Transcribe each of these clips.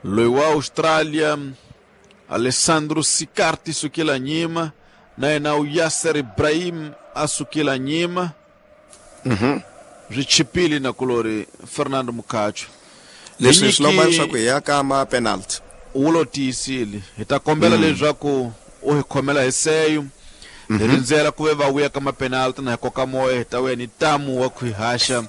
Loyi wa Australia Alessandro Sicarti sukela nyima, na yena u Yasser Ibrahim a sukela nyima. Swi chipile na kulori Fernando Mukacho. Leswi swi lomba leswaku hi ya ka ma penalty. Wu lo tiyisile. Hi ta kombela leswaku u hi khomela hi seyo. Hi rindzela ku ve va vuya ka mapenalty na hi koka moya hi ta vuya ni tamu wa ku hi haxa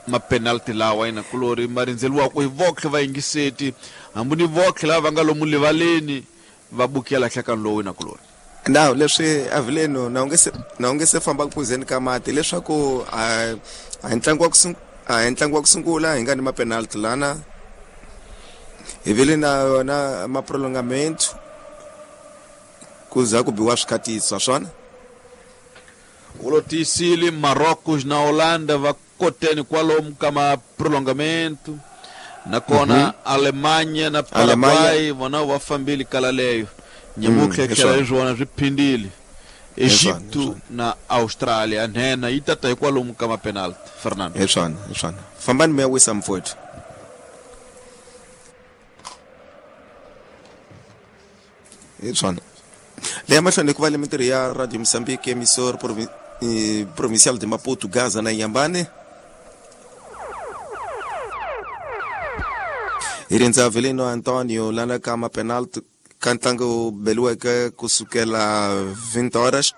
mapenalty lawa ina kulori ma rindzeriwaka hi votlhe vayingiseti, hambi ni votlhe lava va nga lomu livaleni va bukela nhlekani lowu ina kulori. Now leswi Avileno na u nge se famba ku phuzeni ka mati leswaku a hi ntlangu wa ku a hi ntlangu wa ku sungula hi nga ni mapenalty lana hi vile na yona ma prolongamento ku za ku biwa swikhatiso swona. Wu lo tiyisile Marocos na Holanda va koteni kwalomu ka ma prolongamento, nakona Alemanha na Paraguay vona va fambile kala leyo nyamutlha tlhela hi swona swi phindile Egipto na Australia nhenha yi tata hi kwalomu ka mapenalty Fernando. Hi swona, hi swona. Fambani mi ya wisa mfowethu. Hi swona. Leya mahlweni ku va le mintirho ya Radio Mozambique emissor provincial de Maputo, Gaza na Inhambane. Hi rindza Avelino Antonio lana ka mapenalty ka ntlangu beliweke kusukela 20 horas.